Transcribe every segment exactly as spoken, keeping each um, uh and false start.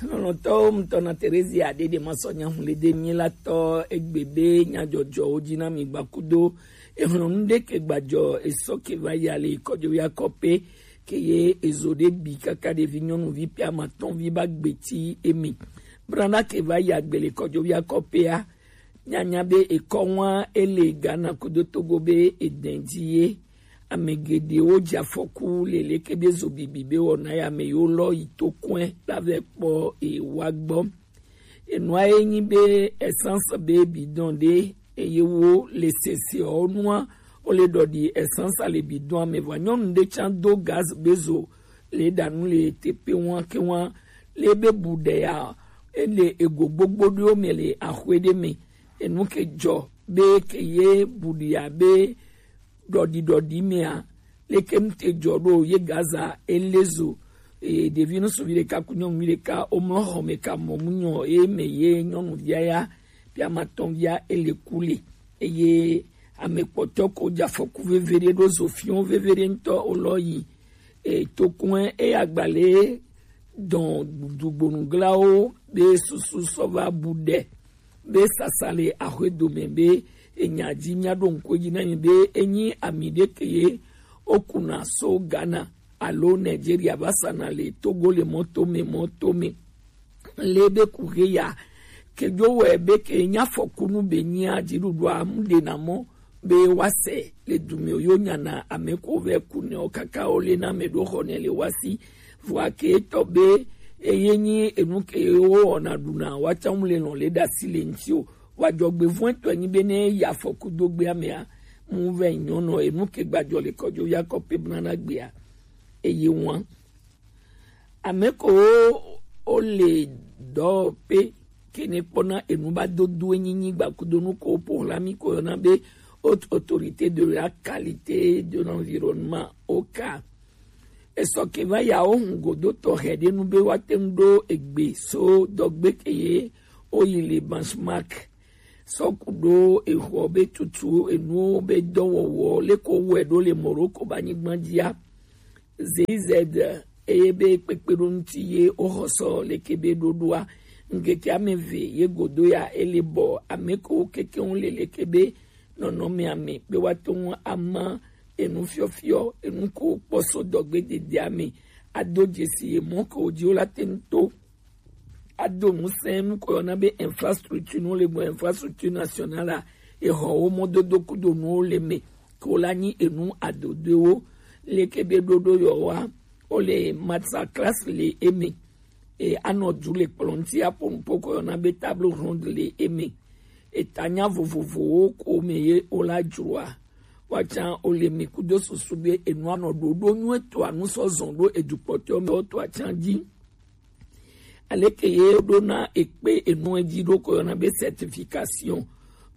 Lɔlɔ̃tɔwo ŋutɔ na Terezia ɖeɖe masɔ nyahun le de mi la tɔ egbe be nyadzɔdzɔwo dzi na mi gbakudo. Ehlɔnu ɖe ke gbadzɔ esɔ ke va ya le kɔdzovi akɔpe ke ye ezo ɖe bi kaka ɖevi nyɔnuvi pe amatɔnvi ba gbeti emi. Brana ke va ya gbe le kɔdzovi akɔpea, nyanya be ekɔ ŋua ele Ghana kudo Togo be edɛn dzi ye. Ame geɖewo dze afɔku lele ke be zo bibi be wɔna ya ame yewo lɔ yi to kɔe la vɛ kpɔ ewa gbɔ. Enua ye nyi be essence be bidon ɖe eye wo le sese ɔ nua wo le ɖɔ ɖi essence le bidon ame vɔ nyɔnu ɖe tsan do gaz be zo le ɖa nu le teƒe ŋua ke ŋua le be bu ɖe ya ele ego gbogbo ɖewo me le axwe ɖe me. Enu ke dzɔ be ke ye bu ɖi ya be ɖɔɖi ɖɔɖi mea leke nu te dzɔ ɖo ye Gaza ele zo. E, ɖevi ŋutsuvi ɖeka ku nyɔnuvi ɖeka womlɔ xɔ me ka mɔ mu nyɔ ye me ye nyɔnuvia ya pe amatɔnvia ele ku le eye ame kpɔtɔ ko dze afɔku veve ɖe ɖo zo fiɔ veve ɖe ŋutɔ wolɔ yi. E, tokun eya gbalẽ dɔn dugbonuglawo be susu sɔ va bu ɖe be sasa le axwedome be enya dzi mia ɖo ŋku edzi na mi be enyi ami ɖe ke ye wokuna so Ghana alo Nigeria va sana le Togo le mɔto me mɔto me. Le be ku he ya ke dzo wɛ be ke nya fɔkunu be nyia dziɖuɖua mu ɖe na mɔ be woase le dume yo nyana ame ko vɛ ku ne o kaka o le na me ɖo xɔ ne le wasi vɔa ke tɔ be eye nyi enu ke wo wɔna ɖuna wa tsa mu le lɔn le ɖasi le ŋti o wa dzɔgbe vɔn tɔ nyi be ne ya fɔku do gbe amea mu vɛ nyɔnɔ enu ke gbadzɔ le kɔdzo ya kɔ pe bna na gbea eye wan ame ko o le dɔ pe kene kpɔna enu ba dodo enyinyi gbakudonu ko po la mi ko yɔna be haute autorité de la qualité de l'environnement au cas esɔ ke va ya wo hun godo tɔxɛ ɖe nu be woate ŋu ɖo egbe so dɔgbe ke ye woyi le benchmark sɔku ɖo exɔ be tutu enuwo be dɔwɔwɔ leko wɔe ɖo le Morocco ba nyigba dzia. Zeized eye be kpekpeɖoŋuti ye woxɔsɔ leke be ɖoɖoa ŋkeke ame eve ye godo ya ele bɔ ame ko kekeŋ le leke be nɔnɔme ame be woate ŋu ama enu fiɔfiɔ enu ko kpɔsɔ dɔgbe dedea me ado dzesi ye mɔ ko dzi wo la te ŋu to ado ŋusẽ nu ko yɔna be infrastructure nu le gbɔ infrastructure nationale a exɔwo mɔdodo kudo nuwo le me ko la nyi enu adodoewo leke be ɖoɖo yɔwa o le masterclass le eme e anɔ du le kplɔn ti aƒo nuƒo ko yɔna be table ronde le eme etanya vovovowo ko me ye o la dzroa watsa o le mi kudo susu be enua nɔ ɖoɖo nyuie to anu sɔ zɔn ɖo edukpɔtɔ me o to atsa dzi. Aleke ye ɖona ekpe enu edzi ɖo ko yɔna be certification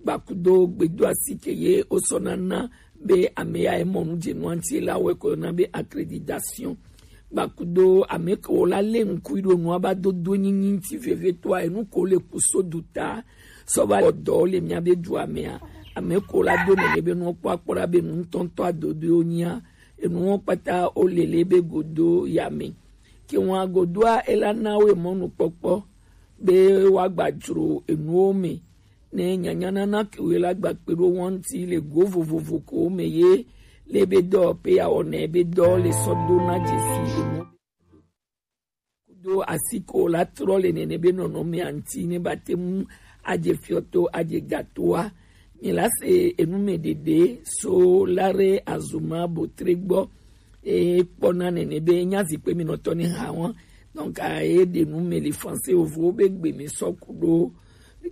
gbakudo gbedo asi ke ye wosɔ nana be ame ya emɔ nu dze nua ŋuti la wɔe ko yɔna be accréditation gbakudo ame ke wo la le ŋkui ɖo nua ba dodo nyinyi ŋuti veve toa enu ko le kuso du ta sɔ va wɔ dɔ le mia be dua mea ame ko la do nene be nuwo kpɔ akpɔ ɖa be nu ŋutɔŋutɔ adodoewo nyia enuwo kpata wo le le be godo ya me. Ke ŋua godoa ela na wo emɔnukpɔkpɔ be woagba dzro enuwo me ne nyanyanana ke wo la gba kpe ɖo wo ŋuti le go vovovo ko me ye le be dɔ pe ya wɔnɛ be dɔ le sɔ do na dzesi enu. Kudo asi ko la trɔ le nene be nɔnɔme aŋti ne ba te mu adze fiɔto adze gatoa. Mi la se enu me ɖeɖe so la re azuma botre gbɔ e kpɔna nene be nya zikpe mi nɔtɔ ne ha wa. Donc a ye ɖe nu me le français ovo be gbe mi sɔ ku ɖo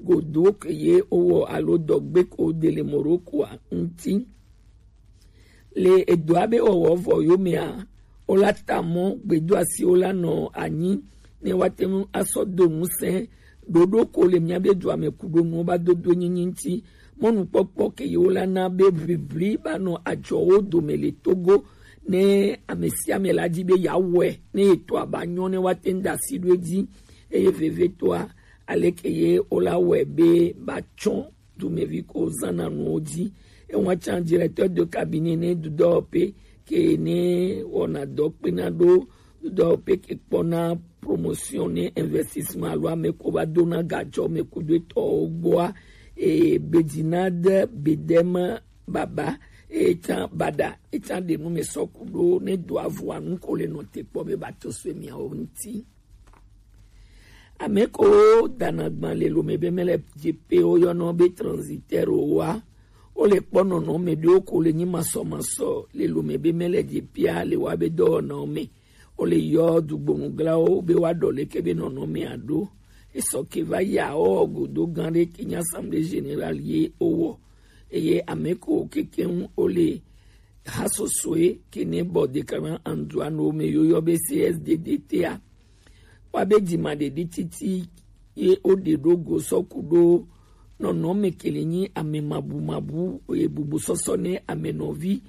godo ke ye owɔ alo dɔgbe ko de le Morocco a ŋuti. Le edoa be wɔwɔ vɔ yo mea, wo la ta mɔ gbedo asi wo la nɔ anyi ne woate ŋu asɔ do ŋusẽ ɖoɖo ko le mia be dua me ku ɖo nuwo ba dodo nyinyi ŋuti. Mɔnukpɔkpɔ ke yewo la na be ʋiʋli ba nɔ adzɔwo dome le Togo ne ame sia ame la di be yeawɔe ne etɔa ba nyɔ ne woate ŋu da asi ɖo edzi eye vevitɔa aleke ye wo la wɔe be ba tsɔ dumevi ko zãna nuwo dzi. Ewa tsã directeur de cabinet ne dudɔ pe ke ne wɔna dɔ kpena ɖo ɖɔ peke kpɔna promotion ne investissement alo ame ko va dona gajɔ me kudo etɔwo gbɔa, e, Bedinade Bedeme Baba, e, can Bada, e, can ɖe nu me sɔ kudo ne do avua nu ko le nɔte kpɔ be ba to sue miawo ŋuti. Ame ko dana gban le lome be mele jepe wo yɔnɔ be transitaire wa. Wo le kpɔ nɔnɔme ɖewo ko le nyi masɔmasɔ le lome be mele jepea le wa be dɔwɔnawo me. Wo le yɔ dugbonuglawo be wa ɖɔ leke be nɔnɔme aɖo. Esɔ ke va ya wo godo gan ɖe ke nyi assemblée générale ye wo wɔ. Eye ame ko kekeŋ wo le ha sosoe ke ne bɔ dekana anduano me yo yɔ be C S D D T a. Wa be jima ɖeɖi titi ye wo ɖe ɖo go sɔ kudo nɔnɔme ke le nyi ame mabu mabu ye bubu sɔsɔ ne ame nɔvi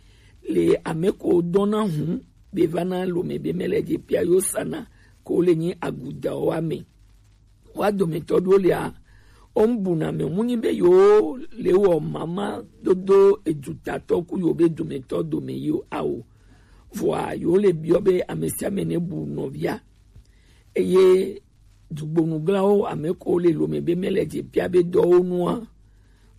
le ame ko dɔna hu be va na lome be mele jepea yo sana ko le nyi agudawo ame. Wa dometɔ ɖewo lia, wo ŋu buna me mu nyi be yewo le wɔ mama dodo edutatɔ ku yewo be dometɔ dome yi o ao. Vɔa yewo le biɔ be ame sia ame ne bu nɔvia. Eye dugbonuglawo ame ko le lome be mele jepea be dɔwo nua.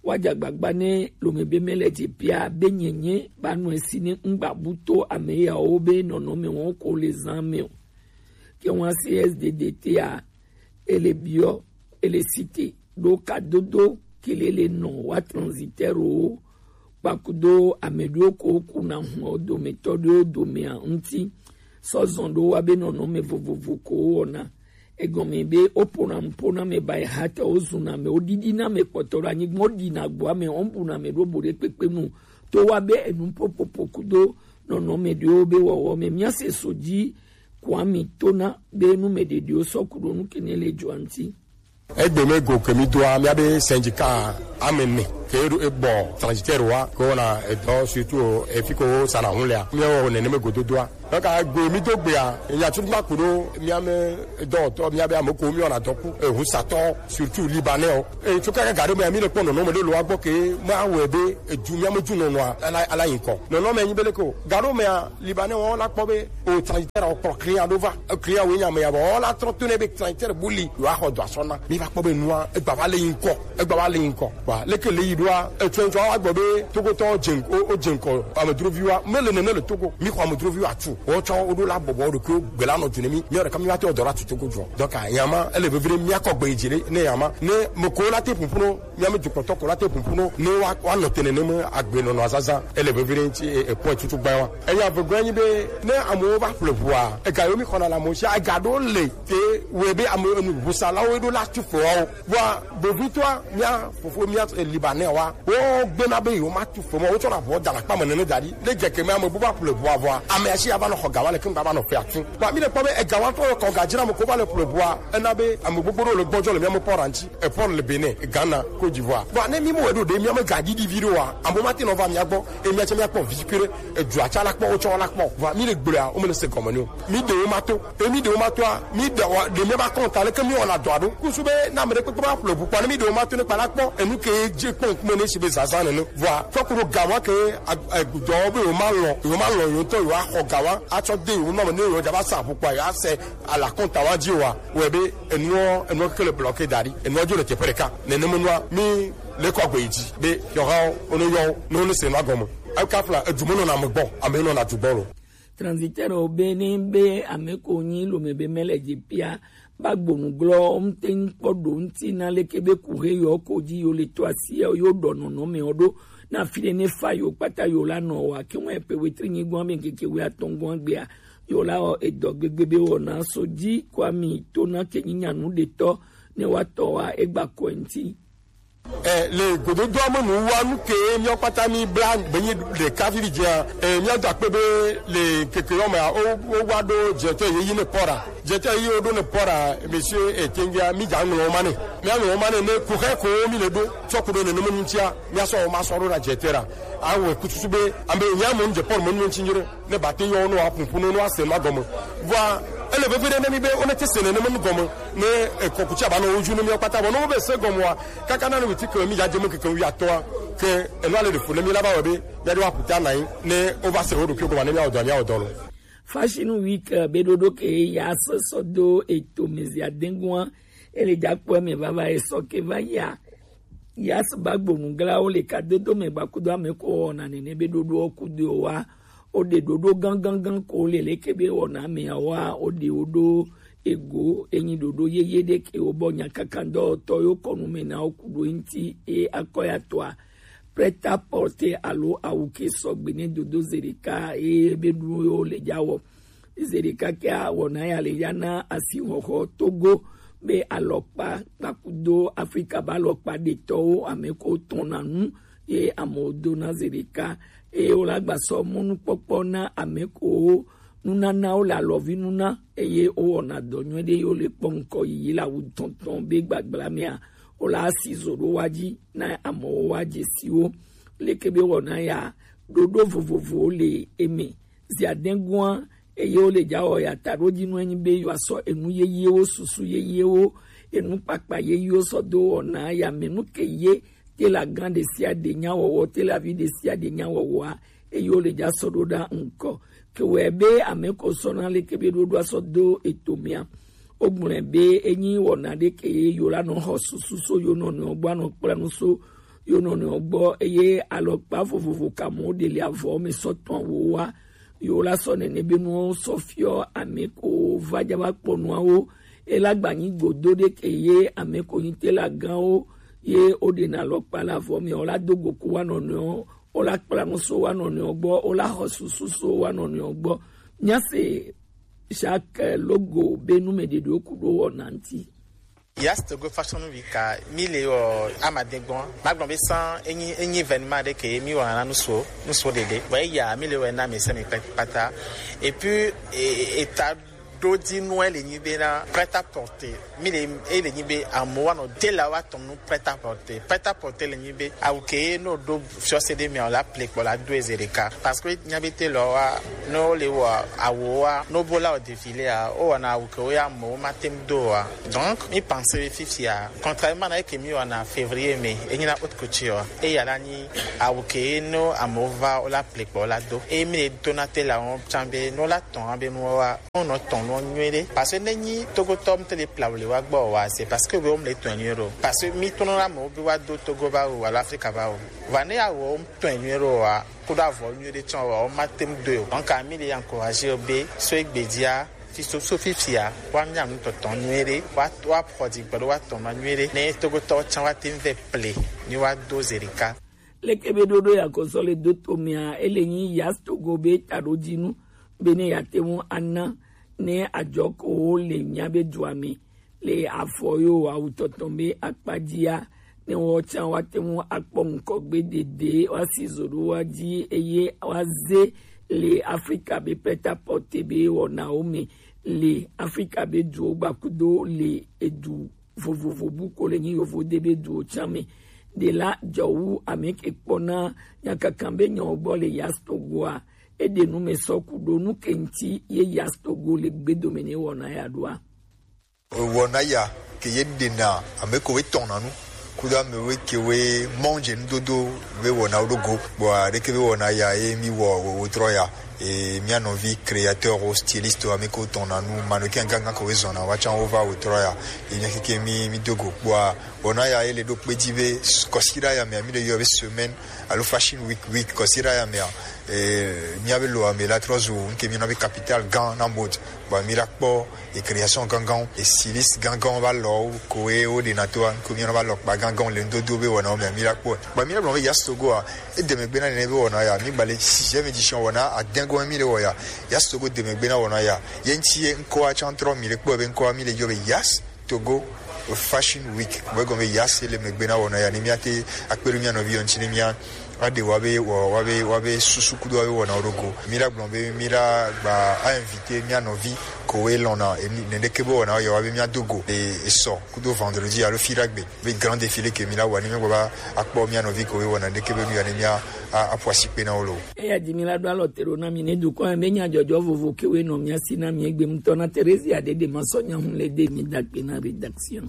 Wa dza gbagba ne lome be mele jepea be nyenye ba nɔ esi ne ŋgba bu to ame yawo be nɔnɔme wɔn ko le zan me o. Ke ŋua C S D D T a, ele biɔ, ele site ɖo kadodo ke le le nɔ wa transitaire wo kpakudo ame ɖewo ko kuna hun o dometɔ ɖewo domea ŋuti sɔ zɔn ɖo wa be nɔnɔme vovovo ko wo wɔna. Egɔme be wo pona ŋpo na me ba eha te wo zuna me wo ɖiɖi na me kpɔtɔ ɖo anyigba wo ɖi na gboa me wo bu na me ɖo bo ɖe kpekpe mu to wa be enu popopo kudo nɔnɔme ɖewo be wɔwɔ me mia se so dzi Kwami Tona be nu me ɖeɖewo sɔ ku ɖo nu ke ne le dzoa ŋuti. Egbe me go ke mi doa mia be syndicat ame ne ke ɖo ebɔ transitaire wa ko na edɔ surtout efi ko sana hun lea mi wo ne ne me go dodoa. Donc egbe mi do gbea nya tu ma ku ɖo mia me dɔwɔtɔ mia be ame ko mi ona dɔku ehusatɔ surtout libanais o. E tso kaka ga ɖe mea mi le kpɔ nɔnɔme ɖe lo wa gbɔ ke ma wɛ be edu mia me du nɔnɔa ala ala yi ŋkɔ. Nɔnɔme nyi be le ko ga ɖo mea Libanais wɔn la kpɔ be o transitaire o kplɔ client ɖo va. E client wo nya me ya bɔ wɔn la trɔ to ne be transitaire bu li yo axɔ dɔ asɔ na. Mi va kpɔ be nua egba va le yi ŋkɔ. Egba va le yi ŋkɔ. Wa leke le yi ɖoa etsɔ etsɔ wa gbɔ be togotɔ dze ŋkɔ o dze ŋkɔ amedrovi wa me le nene le togo mi xɔ amedrovi wa tu. Wo tsɔ wo ɖo la bɔbɔ wo ɖo ko gbe la nɔ tu ne mi mi ɖeka mi va te dɔ la tu togo jɔ. Donc yama ele vevre mi akɔ gbe dzi ɖe ne yama ne me ko la te pumpunu Mía mɛ dukɔtɔ ko la te ƒoƒu nɔ ne wa wa nɔ te nenema agbenɔnɔ azazã ele vevie ɖe ŋuti e e point tutu gbã wa. Enya vegɔe nyi be ne amewo va ƒle ʋua ega yewo mi xɔna le amewo sia ega ɖewo le te wɔe be ame enu ʋusalawo ɖo la tu fewawo. Vɔa bovitɔa mía fofo mía e Libanɛ wa wo gbena be yewo ma tu fe mɔ wo tsɔ na ʋua da le akpa me nene da ɖi ne dze ke me ame bu va ƒle ʋua vɔa ame asi ava nɔ xɔ ga wa le keŋ va nɔ fe atu. Vɔa mi le kpɔ be ega wa tɔ kɔ ga dzra me ko va le ƒle ʋua ena be ame gbogbo ɖewo le gbɔdzɔ le mía me pɔ ɖa ŋuti. Epɔn le Benin, Ghana, Côte d'Ivoire. Vɔa ne mi mo eɖo ɖe mía me ga ɖiɖi vi ɖo wa, amo ma te nɔ va mía gbɔ, e mía tsɛ mía kpɔ vi kure, edua tsɛ la kpɔ, wotsɔ la kpɔ. Vɔa mi le gblɔa, wo me le se gɔme ni o. Mi ɖe wo ma to, e mi ɖe wo ma toa, mi ɖe wa ɖe mía ba kɔn ta leke mi wɔna dɔa ɖo. Kusu be na ame ɖe kpekpe ma ƒle ʋu kpɔ ne mi ɖe wo ma to ne kpa la kpɔ, enu ke dze kpɔ ŋkume ne si be zazã nene. Vɔa fɔ ku ɖo ga wa ke a- a- dɔwɔ be yewo ma lɔ, yewo ma lɔ yewo ŋutɔ yewo axɔ ga wa, atsɔ de yewo nɔ me ne yewo dza va sa ʋu kpɔ yewo ase alakɔntawa dzi wa wɔe be enuɔ enuɔ keke le bloqué da ɖi enuɔ dzo le teƒe ɖeka. Nenema nua mi le kɔ agbe yi dzi be yɔhawo wone yɔwo ne wone se nua gɔme. Eka fla edu me nɔna ame gbɔ ame nɔna du gbɔ lo. Transitaire wo be ne be ame ko nyi lome be mele dzi pia ba gbonu glɔ ŋte ŋkpɔ ɖo ŋti na leke be ku he yɔ ko dzi yo le to asi yo ɖɔ nɔnɔme wo ɖo na fi ɖe ne fa yo kpata yo la nɔ wa ke ŋu epe wetri nyi gɔn be ŋkeke we atɔn gɔn gbea Yo la wɔ edɔ gbegbe be wɔna so dzi kɔ ami to na ke nyi nyanu ɖetɔ ne wa tɔ wa egba kɔe ŋti. E, le gododoa me nu wa nu ke míawo kpata mi bla gbenyi ɖeka fi dzia e, míado akpe be le keke yɔ mea wo wo wa ɖo dzetɔ yeyi ne pɔra dzetɔ yeyi wo ɖo ne pɔra monsieur etengia mi dza ŋlɔ wo ma ne míaŋlɔ wo ma ne ne kuxɛ ko mi le ɖo tsɔ ku ɖo nenema ŋutia míasɔ wo ma sɔ ɖo na dzetɔ ɖa awɔe kututu be ame nya mo ŋdze pɔr mo ŋuti nyire. Ne ba te yɔ ne wa ƒoƒu ne wa se nua gɔme. Vɔa ele veve ɖe ne mi be wone te se nenema nu gɔme ne ekɔkuti aba nɔ wo dzi ne mi kpata vɔ ne wo be se gɔme wa kaka na ne witi ke mi ya dze me keke wi atɔa ke enua le ɖe fu ne mi la ba wɔ be ya de wa ƒuta na yi ne wo va se wo ɖokui gɔme ne mi awɔ dɔ mi awɔ dɔ lo. Fashion Week, eh, be ɖoɖo ke ya sɔ sɔ do eto mɛ zia denguan, ele ja kpɔ mɛ vava e sɔ ke va ya. Ya sɔ ba gbonu gla o le ka dodo mɛ gba kudo ame ko wɔna nene be ɖoɖo o kudo wa. O de ɖoɖo gangan gan ko le le ke be wɔna mɛ wa o de o ɖo ego enyi ɖoɖo yeye ɖe ke o bɔ nya kaka dɔ tɔ yo kɔnu mɛ na o kudo nti e akɔ ya tɔa. Prêt-à-porter alo awu ke sɔgbe ne dodo zerika e be ɖu yo le ja wɔ. Zerika ke a wɔna ya le ya na asi wɔxɔ Togo be alɔkpa kpakudo Afrika ba alɔkpa ɖetɔwo ame ko tɔna nu ye amewo do na zerika eye wo la gba sɔ mɔnukpɔkpɔ na ame ko nunanawo le alɔvi nuna eye wo wɔna dɔ nyuie ɖe ye wo le kpɔ ŋkɔ yiyi le awu tɔntɔn be gbagbla mea wo la asi zo ɖo wa dzi na amewo wa dze si wo. Leke be wɔna ya ɖoɖo vovovowo le eme. Zia denguan eye wo le ja wɔ ya taɖo dzi nu enyi be yewoa sɔ enu yeyewo, susu yeyewo, enu kpakpa yeyewo sɔ do wɔna ya me nu ke ye te la gan ɖe sia ɖe nya wɔwɔ, te la vi ɖe sia ɖe nya wɔwɔa eye wo le ja sɔ ɖo ɖa ŋkɔ. Ke wɛ be ame ko sɔ na leke be ɖoɖoa sɔ do eto mea. O gblɔe be enyi wɔna ɖe ke ye yo la nɔ xɔ susu so yo nɔnɔewo gbɔ anɔ kpla nu so yo nɔnɔewo gbɔ eye alɔkpa vovovo ka mo ɖe le avɔ me sɔ tɔn wo wa. Yo la sɔ nene be nuwo sɔ fiɔ ame ko va ja va kpɔ nuawo. E la gba nyi godo ɖe ke ye ame ko nyi te la gan wo ye o ɖe na alɔkpa la avɔ me o la do go ku wa nɔnɔewo o la kpla nu so wa nɔnɔewo gbɔ o la xɔ susu so wa nɔnɔewo gbɔ. Mia se Jacques Logo be nu me ɖeɖewo ku ɖo wɔna ŋti. Yas Togo Fashion Week a mi le wɔ amadegbɔn. Ma gblɔ be san enyi enyi événement ɖe ke mi wɔ na nuso nuso ɖeɖe. Bon eya mi le wɔ na mi se mi kpata. Et puis e- eta ɖo di nu ele nyi be na prêt-à-porter. Mi le ele nyi be amewo anɔ de la wa tɔn nu prêt-à-porter. Prêt-à-porter le nyi be awu ke no do fiɔse ɖe mea o la ple kpɔ la do eze ɖeka. Parce que nya be te lɔ wa no le wɔ awo wa no bo la o défilé a o wɔna awu ke wo ya amewo ma tem do wa. Donc mi pense be fifia contrairement na eke mi wɔna février me enyi na haute couture eya la nyi awu ke no amewo va o la ple kpɔ la do e mi le do na te la wɔn can be no la tɔn be no wa Wonɔ tɔn nɔ nyuie ɖe. Parce que ne nyi Togotɔ mu te le pla wòle wa gbɔ wa, c'est parce que wo mu le tɔn nyuie ɖo. Parce que mi tɔn na mo bi wa do Togo ba wo, alo Afrika ba wo. Wa ne ya wo mu tɔn nyuie ɖo wa, kudo avɔ nyuie ɖe tsɔn wa, wo ma tem do yo. Donc, mi le encourager be, so egbe dia, fi so, so fifia, wa nya nu tɔtɔn nyuie ɖe, wa, wa prɔ di gbɛ ɖo wa tɔn nɔ nyuie ɖe. Ne Togotɔ tsɔn wa tem ve ple, ni wa do zerika. Leke be ɖoɖo ya kɔsɔ le do to mia, ele nyi Yas Togo be taɖo dinu. Be ne yeate ŋu ana ne adzɔkewo le míabe dua me le afɔ yo awu tɔtɔ be akpa dzia, ne woawo tsã woate ŋu akpɔ ŋkɔgbe dede woasi zo ɖo woa dzi eye woaze le Afrika be prêt-à-porter be wɔnawo me le Afrika be duwo gbakudo le edu vovovo bu ko le nyi yovo de be duwo tsã me. Ɖe la dzɔ wu ame ke kpɔna nyakakan be nyawo gbɔ le Yas Togoa. Eɖe nu me sɔ ku ɖo nu ke ŋuti ye Yas Togo le gbedome ne wɔna ya ɖoa. Wɔna ya ke ye ɖena ame ko we tɔna nu kudo ame we ke we mɔnje nudodo be wɔna wo ɖo go. Bɔ aɖeke be wɔna ya ye mi wɔ wo trɔ ya. E mia nɔvi créateur o styliste ame ko tɔna nu mannequin gangan ko we zɔna wa tsã wo va wo trɔ ya. E mia keke mi mi do go. Bɔ wɔna ya ye le ɖo kpe dzi be kɔsiɖa ya me mi le yɔ be semaine alo Fashion Week, week kɔsiɖa ya mea, eh, míabe lo ame la trɔ zu ŋke míyɔna be capital gã na mode. Bon, mi la kpɔ e création gãgãwo, e styliste gãgãwo ba lɔwo ko e wo ɖe na toa, ŋke míyɔna ba lɔ kpa gãgãwo le ŋdodo be wɔnawo mea, mi la kpɔ. Bon, mi la gblɔ be Yas Togoa, e de megbe na nene be wɔna ya, mi gba le sixième édition wɔna adɛngɔ mi le wɔ ya. Yas Togo de megbe na wɔna ya. Ye ŋti ye ŋkɔa tsã trɔ mi le kpɔ be ŋkɔa mi le yɔ be Yas Togo Fashion Week. Bɔ egɔme ya se le megbe na wɔna ya ne míate akpe ɖo mía nɔvi yɔ ŋuti ne mía aɖe wa be wɔ wa be wa be susu kudo wa be wɔna wo ɖo go. Mi la gblɔ be mi la gba a invité mía nɔvi ko we lɔna eni nene ke be wɔna yɔ wa be mía do go e esɔ kudo vendredi alo fi ɖagbe be grand défilé ke mi la wa ne mía gba ba akpɔ mía nɔvi ko we wɔna ne ke be nu ya ne mía a- aƒo asi kpe na wo lo. Eya di mi la ɖo alɔ te ɖo na mi ne dukɔ ya be nyadzɔdzɔ vovo ke we nɔ mía si na mi egbe ŋutɔ na Theresia ɖe ɖe ma sɔ nya ŋu le de mi da kpe na rédaction.